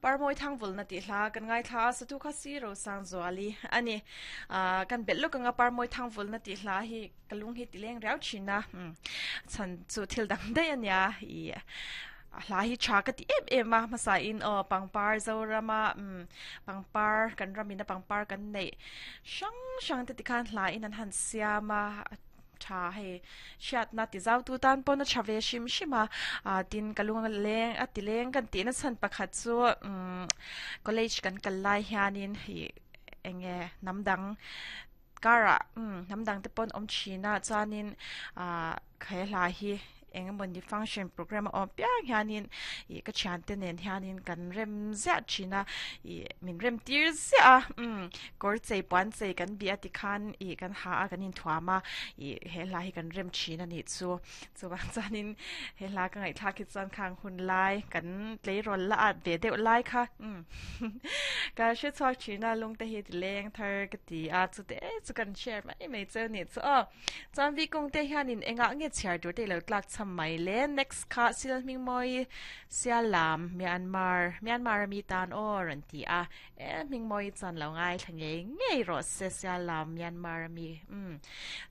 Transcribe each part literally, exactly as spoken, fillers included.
Parmawi Thangvulna tih hla kan ngaithla a, satu kha si Rosang Zuali a ni. Ah kan belh lawk anga Parmawi Thangvulna tih hla hi ka lung hi ti leng riau thin a, umm chhan chu thil dang daih a nia ih a hla hi tha ka ti em em a, hmasa in aw pangpar Zorama umm pangpar kan ramina pangpar kan neih hrang hrang te tikhan hla in an han siam a. Tha hei hriatna ti zau tu tan pawn a tha ve hrim hrim a, ah tin ka lung leng a ti leng kan tihna chhan pakhat chu umm college kan kal lai hianin ih eng nge hnam dang karah umm hnam dang te pawn awm thin a chuanin ah he hla hi eng emawni function program a awm piang hianin ih ka thiante nen hianin kan rem ziah thin a ih min rem tir ziah a umm kawr chei puan chei kan bih a tikhan ih kan ha a kan inthuam a ih he hla hi kan rem thin a nih chu chuvang chuanin he hla ka ngaihthlak hi chuan khang hun lai kan tleirawl la at ve deuh lai kha umm ka hre chhuak thin a lung te hi ti leng thar ka ti a chute chu kan share mai mai cheu nih chu aw. Chuan Vikung te hianin engah nge chhiar tur te i lo tlak cham mai le? Next kha Sil Hmingmawi Sialam Myanmar Myanmar a mi tan aw rawn ti a. E Hmingmawi chuan lo ngaithla ngei ngei rawh se Sialam Myanmar a mi. Umm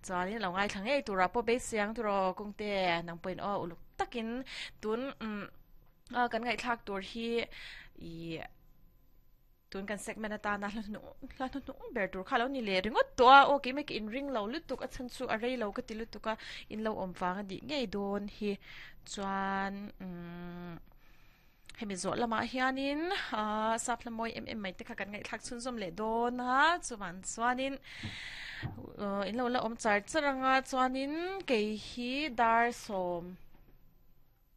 chuanin lo ngaithla ngei turah pawh beisei ang tur aw Kungte nang pawhin aw uluk takin tun umm kan ngaihthlak tur hi ih Tun kan segment atana hla hnuhnung hla hnuhnung ber tur kha lo ni leh ringawt tawh a, aw keimah ka inring lo lutuk a chhan chu a rei lo ka ti lutuk a, in lo awm vang a nih ngei dawn hi chuan umm hemi zawh lamah hianin aaa sap hla mawi em em mai te kha kan ngaihthlak chhunzawm leh dawn a, chuvang chuanin in lo la awm char char anga chuanin kei hi dar sawm.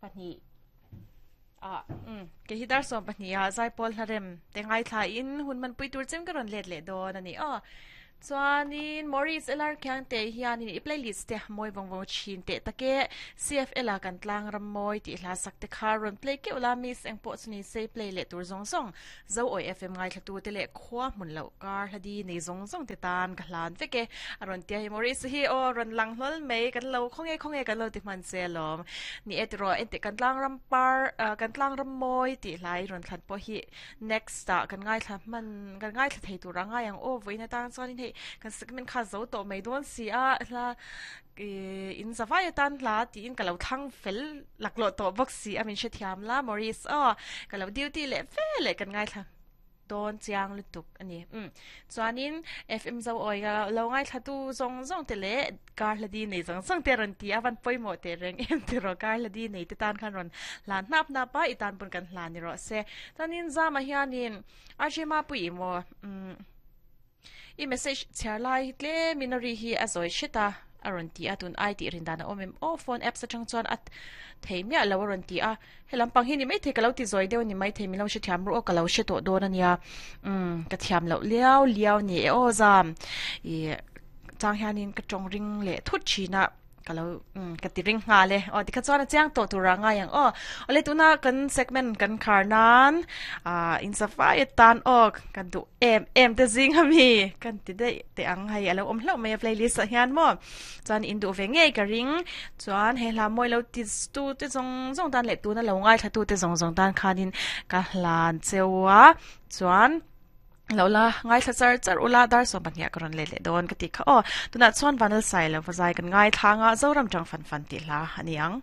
Pahnih ah umm kei hi dar sawm pahnih ah zaipawl hlarem te ngaithla in hun hmanpui tur chem ka rawn let leh dawn a ni aw. Chuanin Maurice L R Khiangte hianin i playlist te mawi vawng vawng thin teh tak e C F L a kan tlang ram mawi tih hla sak te kha rawn play keuh la miss eng pawh chu ni se play leh tur zawng zawng Zoawi F M ngaithlatu te leh khua hmun loh kar hla di nei zawng zawng te tan ka hlan vek e. A rawn tia hi Maurice hi aw rawn lang hlawl mai kan lo khaw nge khaw nge kan lo ti hman che alawm. Ni e tiraw enteh kan tlang ram par kan tlang ram mawi tih hlai rawn thlan pawh hi next ah kan ngaithla hman kan ngaithla thei tur a ngai ang aw vawiin atang chuanin hei kan segment kha zo tawh mai dawn si a hla Ih in zavai atan hla tiin ka lo thlang fel laklawh tawh bawk si a min hrethiam la Maurice aw ka lo duty leh fe leh kan ngaithla dawn chiang lutuk a ni umm chuanin F M zo awi ka lo ngaithla tu zawng zawng te leh kar hla di nei zawng zawng te a rawn ti a van pawimawh teh reng em tiraw kar hla di nei te tan khan rawn hlan hnap hnap a i tan pawn kan hlan ni rawh se chuanin Zama hianin R J Mapuii maw umm. I message chhiar lai hi tlemin a ri hi a zawi hret a, a rawn ti a, tun ai tih rin dan a awm em aw, phone apps atang chuan a thei miah lo a rawn ti a, he lampang hi ni maithei ka lo ti zawi deuh a ni maithei min lo hrethiam ru aw ka lo hre tawh dawn a nia, umm ka thiam loh liau liau ni e aw zam ih chang hianin ka tawng ring leh thut thin a. Ka lo umm ka ti ring nghal e. Aw tikha chuan a chiang tawh tur ah ngai ang aw. Awle tuna kan segment kan khar nan ah in safai atan aw ka duh em em te zing a mi kan ti daih teh ang hei a lo awm hlauh mai a playlist ah hian maw. Chuan in duh ve ngei ka ring chuan he hla mawi lo ti tu te zawng zawng tan leh tuna lo ngaithla tu te zawng zawng tan khanin ka hlan cheu a chuan. Lo la, ngaithla char char ula, dar sawm pahnih ah ka rawn let leh dawn ka tih kha aw. Tunah chuan Vanlalsai lo va zai kan ngaithla anga Zoram tang fan fan tih hla a ni ang.